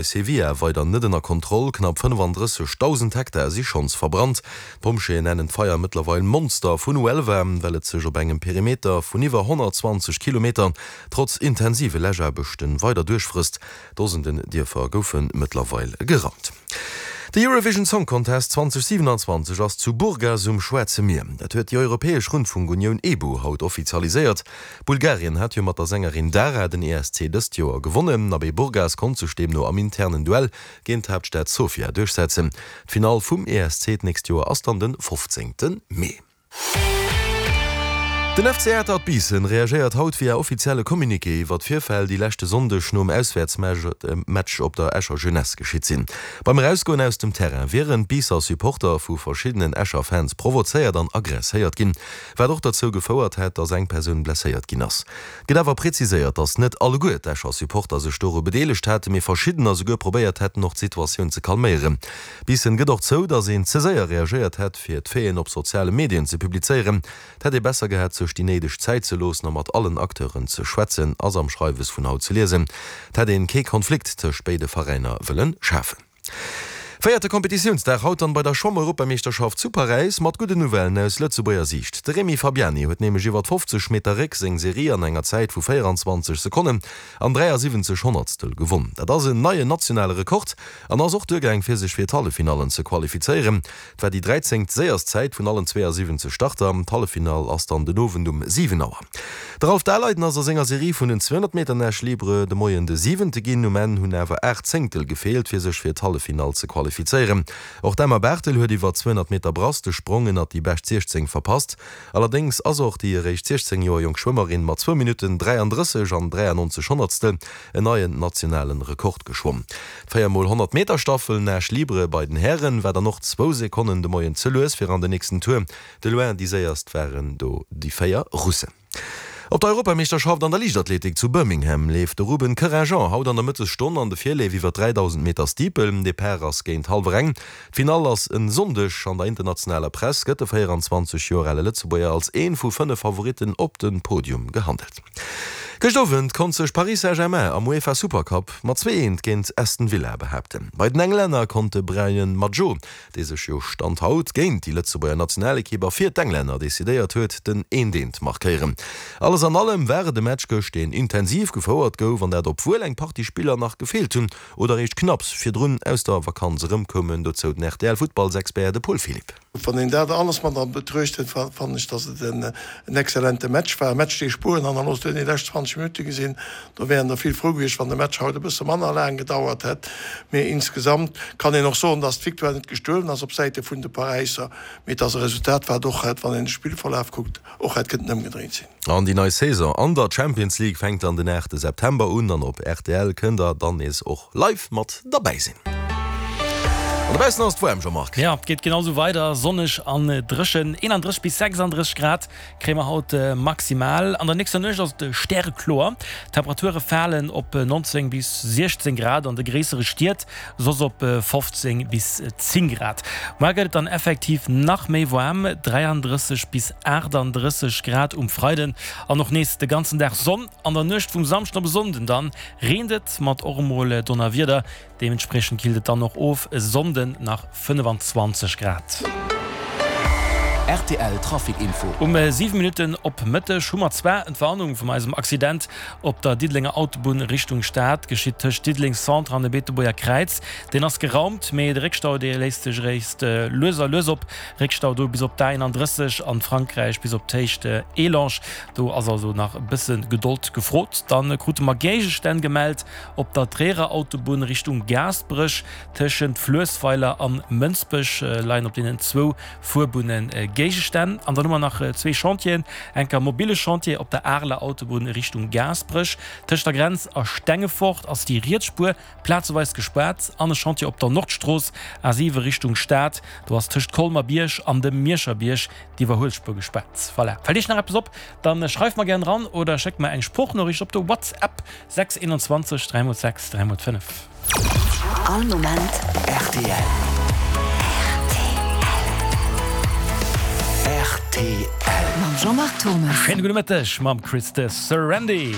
Sevilla weider net ënner Kontroll, knapp 35.000 Hektar si schonns verbrannt. D'Pompjeeën nennen d'Feier mëttlerweil Monster vun Huelva, well et sech op engem Perimeter vun iwwer 120 Kilometer trotz intensive Läschaarbechte weider duerchfrësst. Dosenden Dierfer goufe mëttlerweil geraumt. De Eurovision Song Contest 2027 ass zu Burgas um Schwaarze Mier. Dat huet déi europäesch Rundfunkunioun EBU haut offizialiséiert. Bulgarien hat jo mat der Sängerin Dara den ESC dëst Joer gewonnen. Abee Burgas konnt sech deemno am internen Duell géint d'Haaptstad Sofia duerchsetzen. D'Finall vum ESC d'nächst Joer ass dann de 15 Mee. Den FC Atert Biissen reagéiert haut via offizielle Communiqué iwwer d'Virfäll, déi leschte Sonndeg nom Auswäertsmatch op der Escher Jeunesse geschitt sinn. Beim Erausgoen aus dem Terrain wieren d'Biisser Supporter vu verschiddenen Escher Fans provozéiert an aggresséiert ginn. Wat och derzou gefouert hätt, datt eng Persoun blesséiert ginn ass. Et gëtt awer präziséiert, datt net alleguer d'Escher Supporter sech doru bedeelegt haten, mee verschiddener souguer probéiert hätten, och d'Situatioun ze calméieren. Biissen gëtt och zou, datt een ze séier reagéiert hätt, fir d'Faiten op soziale Medien ze publizéieren. Et hätt ee besser gehat, sech déi néideg Zäit ze loossen a mat allen Acteuren ze schwätzen, ass am Schreiwes vun haut ze liesen. Et hätt een kee Konflikt tëscht béide Veräiner wëlle schafen. Véierte Kompetitiounsdag haut dann bei der Schwamm-Europameeschterschaft zu Paräis mat gudden Nouvellen aus Lëtzebuerger Siicht. De Rémi Fabiani huet nämlech iwwert 50 Meter Réck seng Serie an enger Zäit vu 24 Sekonnen an 73 Honnertstel gewonn. Dat ass en neien nationale Rekord an ass och duergaang fir sech fir d'Halleffinallen ze qualifizéieren. Et war déi dräizéngt séierst Zäit vun allen 72 Starter. D'Halleffinall ass dann den Owend um 7 Auer. De Ralph Daleiden ass a senger Serie vun den 200 Meter Nage libre de Moien de Siwente ginn. Um Enn hunn awer 8 Zéngtel gefeelt, fir sech fir d'Halleffinall ze qualifizéieren. Och d'Emma Barthel huet iwwer 200 Meter Brass de Sprong ënnert déi bescht 16 verpasst. Allerdéngs ass och déi eréischt 16 Joer jonk Schwëmmerin mat zwou Minutten 33 an 93 Honnertstel en neien nationalen Rekord geschwomm. D'Véier mol 100 Meter Staffel Nage libre bei den Hären war dann och zwou Sekonnen de Moien ze lues fir an den nächsten Tour. De loin déi séierst waren do déi 4 Russen. Op der Europameeschterschaft an der Liichtathletik zu Birmingham leeft de Ruben Querinjean haut an der Mëttesstonn an de Virleef iwwer 3000 Meter Steeple. Depart ass géint hallwer eng. D'Finall ass en Sonndeg. An der internationaler Press gëtt de 24 Joer ale Lëtzebuerger als een vu 5 Favoritten op de Podium gehandelt. Gëscht Owend konnt sech Paris Saint-Germain am UEFA Supercup mat 2 Eent géint Aston Villa behaapten. Bei den Englänner konnt de Brian Madjo, dee sech jo Stand haut géint déi Lëtzebuerger Nationalekipp a fir d'Englänner decidéiert huet, den Eent-Eent markéieren. Alles an allem war et e Match gëscht, deen intensiv gefouert gouf an dat obwuel eng Partie Spiller nach gefeelt hunn oder eréischt knapps virdrun aus der Vakanz erëmkoumen. Dozou den RTL-Futtballsexpert, de Paul Philipp. Wann een dat alles mat a Betruecht hëlt, fannen ech, datt et en exzellente Match war. E Match, dee Spueren hannerlooss huet. Déi lescht 20 Minutte gesinn, do wären der vill frou gewiescht, wann de Match haut e bësse manner laang gedauert hätt. Mee insgesamt kann een och soen, datt d'Victoire net gestuelen ass op Säite vun de Paräisser, mee datt e Resultat, wat och hätt, wann een de Spillverlaf kuckt, och hätt kënnten ëmgedréint sinn. An déi nei Saison an der Champions League fänkt dann den 8 September un an op rtl kënnt der dann nees och live mat derbäi sinn. An dobaussen ass et waarm, Jean-Marc. Jo, et geet genau sou weider, sonneg an dréchen. 31 bis 36 Grad kréie mer haut maximal. An der nächster Nuecht ass et stärekloer. D'Temperature falen op 19 bis 16 Grad an de gréissere Stied, soss op 15 bis 10 Grad. Muar gëtt et dann effektiv nach méi waarm, 33 bis 38 Grad um Freiden an och nees de ganzen Dag Sonn. An der Nuecht vum Samschden op e Sonnden dann reent et mat och emol Donnerwieder, deementspriechend killt et dann och of, e Sonnden nach 25 Grad. Rtl Trafic Info. Um 7 Minutten op Mëtteg hu mer zwar Entwarnung vum eisem Accident op der Diddelenger Autobunn Richtung Stad, geschitt tëscht Diddeleng Centre an dem Beetebuerger Kräiz. Deen ass geraumt, mee de Réckstau dee léist sech eréischt lues a lues op. Réckstau do bis op d'A31 an Frankräich bis op d'Héicht Elange. Do ass also nach e bësse Gedold gefrot. Dann krute mer Géigestänn gemellt op der Tréierer Autobunn Richtung Gaasperech. Tëschent Fluessweiler an Mënsbech leien op deenen zwou Fuerbunne Géigestänn. An dann hu mer nach zwee Chantieren, enker mobile Chantier op der Areler Autobunn Richtung Gaasperech. Tëscht der Grenz a Stengefort ass déi riets Spuer plazeweis gespaart. An e Chantier op der Nordstrooss, A7 Richtung Stad, do ass tëscht Colmer-Bierg an dem Mierscher Bierg d'Iwwerhuelspuer gespaart. Voilà, fält Iech nach eppes op, dann schreift mer gären eran oder schéckt mer eng Sproochnoriicht op de WhatsApp 6 21 3 x 6 3 x 5. All Moment rtl. Rtl. Mam Jean-Marc Thommes. Schéine gudde Mëtteg mam Chris de Sarandy.